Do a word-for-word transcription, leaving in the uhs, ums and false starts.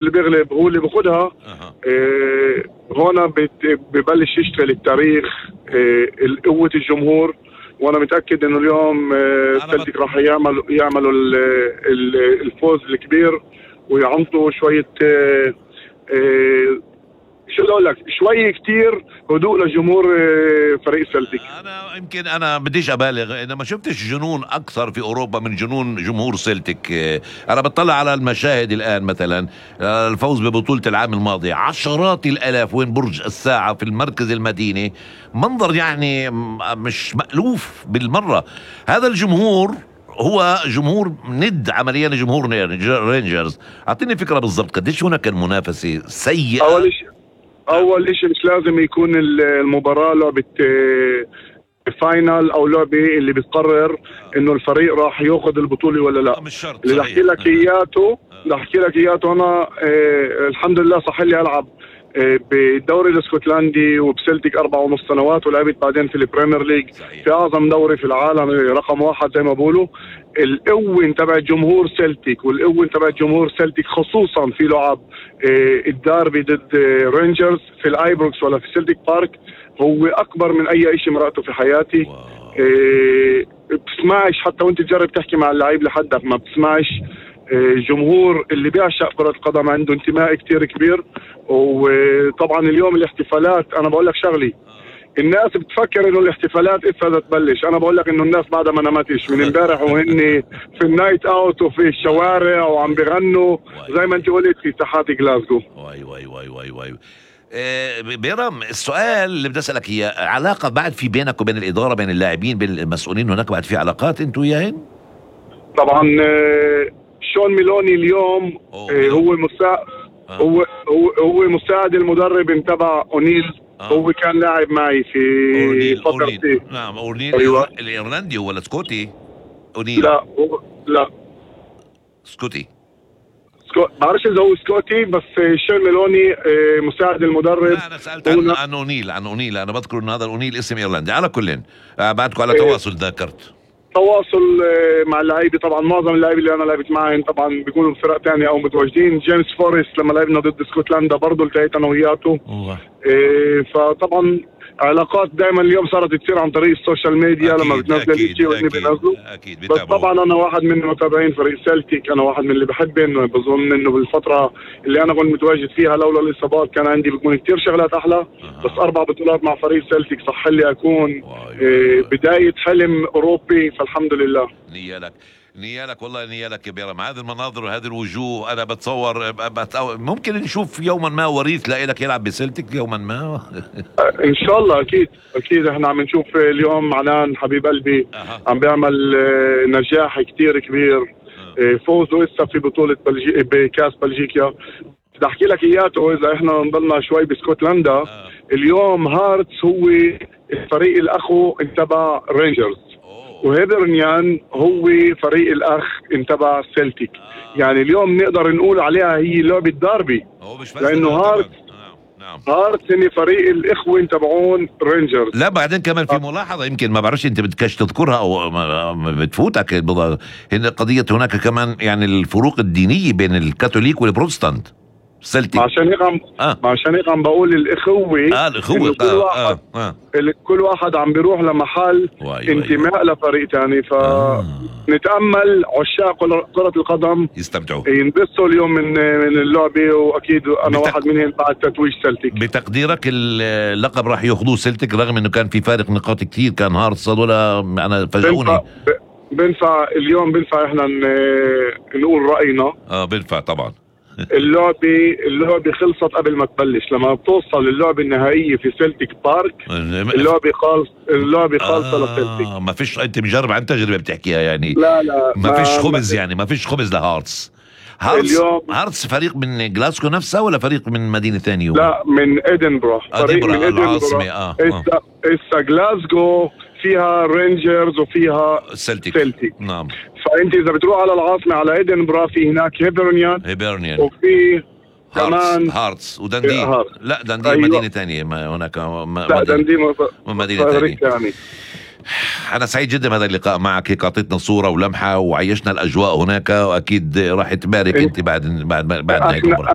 اللي بيغلب هو اللي بياخدها. أه. إيه هون ببلش يشتغل التاريخ، إيه قوة الجمهور، وانا متاكد انه اليوم سلتيك راح يعملوا يعملوا الفوز الكبير ويعطوا شويه إيه إيه شو بدي اقول لك، شوي كتير هدوء لجمهور فريق سلتيك. انا يمكن انا بديش ابالغ، انا ما شفتش جنون اكثر في اوروبا من جنون جمهور سلتيك. انا بطلع على المشاهد الان، مثلا الفوز ببطولة العام الماضي، عشرات الالاف وين برج الساعة في المركز المديني، منظر يعني مش مألوف بالمرة. هذا الجمهور هو جمهور ند عمليا جمهور رينجرز. اعطيني فكرة بالضبط قديش هناك المنافسة سيئة. اول شيء اول شيء مش لازم يكون المباراة لعبة فاينل او لعبة اللي بتقرر انه الفريق راح ياخذ البطولة ولا لا. مش شرط. اللي احكي لك اياته اللي احكي لك اياته انا اه الحمد لله صح لي العب اه بالدوري الاسكتلندي وبسلتيك اربع ونص سنوات، ولعبت بعدين في البريمير ليج في اعظم دوري في العالم رقم واحد زي ما بقولوا. القوة تبع جمهور سلتيك والقوة تبع جمهور سلتيك خصوصا في لعب اه الداربي ضد اه رينجرز في الايبروكس ولا في سلتيك بارك هو اكبر من اي شيء مرأته في حياتي. اه بتسمعش حتى وانت تجرب تحكي مع اللعيب لحدك ما بتسمعش. جمهور اللي بيعشق كرة القدم عنده انتماء كتير كبير. وطبعا اليوم الاحتفالات انا بقول لك شغلي، الناس بتفكر انه الاحتفالات اسا بدها تبلش، انا بقول لك انه الناس بعدها ما نامتش من امبارح وهن في النايت اوت وفي الشوارع وعم بيغنوا زي ما انت قلت في ساحات جلاسكو. واي واي واي واي واي آه بيرم، السؤال اللي بدي اسالك اياه، علاقه بعد في بينك وبين الاداره، بين اللاعبين، بين المسؤولين، هناك بعد في علاقات انتوا وياهن؟ طبعا آه شون ميلوني اليوم آه هو مساعد آه. هو هو هو مساعد المدرب تبع اونيل. آه. هو كان لاعب معي في فترتي. نعم اونيل. أيوة. الايرلندي ولا سكوتي؟ اونيل لا هو لا سكوتي. سكو... بعرفش اذا هو سكوتي، بس شون ميلوني آه مساعد المدرب. لا انا سالت عن, عن اونيل عن اونيل انا بذكر انه هذا اونيل اسم ايرلندي. على كل آه بعدكم على تواصل. ذاكرت تواصل مع اللعيبه. طبعا معظم اللعيبه اللي انا لعبت معهم طبعا بيكونوا بفرق ثانيه او متواجدين. جيمس فورست لما لعبنا ضد اسكتلندا برضه التقيت انا وياته. إيه فطبعا علاقات دائما اليوم صارت تصير عن طريق السوشيال ميديا. لما بتنزل شيء واني بنزله. بس طبعا انا واحد من متابعين فريق سلتيك، انا واحد من اللي بحب انه بظن انه بالفتره اللي انا كنت متواجد فيها لولا الاصابات كان عندي بيكون كثير شغلات احلى. أه. بس اربع بطولات مع فريق سلتيك صح لي اكون إيه بدايه حلم اوروبي، فالحمد لله. نيالك نيالك والله نيالك يا بيرم. هذه المناظر وهذه الوجوه انا بتصور ممكن نشوف يوما ما وريث لك يلعب بسلتيك يوما ما. ان شاء الله اكيد اكيد. احنا عم نشوف اليوم عنان حبيب قلبي أه. عم بيعمل نجاح كتير كبير. أه. فوزه لسه في بطولة بلجي... بكاس بلجيكا. بدي احكي لك اياته اذا احنا نضلنا شوي بسكوتلندا. أه. اليوم هارتس هو الفريق الاخو تبع رينجرز، وهيبرنيان هو فريق الاخ تبع سلتيك. آه. يعني اليوم نقدر نقول عليها هي لعبة داربي، لانه هارت نعم. هارت هن فريق الاخوه تبعون رينجرز. لا بعدين كمان في ملاحظه يمكن ما بعرفش انت بدكش تذكرها او بتفوتك، هن قضيه هناك كمان يعني الفروق الدينيه بين الكاثوليك والبروتستانت سلتيك. عشان هيك عم آه. عشان هيك عم بقول الاخوه. اه الاخوه كل واحد آه. آه. كل واحد عم بيروح لمحل انتماء لفريق ثاني، فنتامل آه. عشاق كرة القدم يستمتعوا ينبسطوا اليوم من من اللعبه، واكيد انا بتق... واحد منهم بعد تتويج سلتيك. بتقديرك اللقب راح ياخذوه سلتيك رغم انه كان في فارق نقاط كثير، كان هارتس ولا انا فاجئوني. بنفع اليوم بنفع احنا نقول راينا. اه بنفع طبعا. اللعبة اللعبة خلصت قبل ما تبلش. لما بتوصل اللعبة النهائية في سلتيك بارك اللعبة خالص اللعبة خالصة آه لسلتيك. ما فيش انت مجرب عن تجربة بتحكيها يعني. لا لا ما فيش خبز يعني ما فيش خبز لهارتس. هارتس اليوم هارتس فريق من جلاسكو نفسها ولا فريق من مدينة ثانية؟ لا من ادنبرا. فريق من العاصمة. اه اسا اسا جلاسكو فيها رينجرز وفيها سلتيك. سلتيك نعم. فانت اذا بتروح على العاصمه على ادنبرا في هناك هيبرنيان هيبرنيان وفي كمان هارتس ودندي. هارتس. لا دندي. أيوة. مدينه ثانيه ما هناك ما لا دندي مدينه ثانيه. أنا سعيد جدا بهذا اللقاء معك، هيك أعطيتنا صورة ولمحة وعيشنا الأجواء هناك، وأكيد راح تبارك أنت بعد بعد بعد هيك. احنا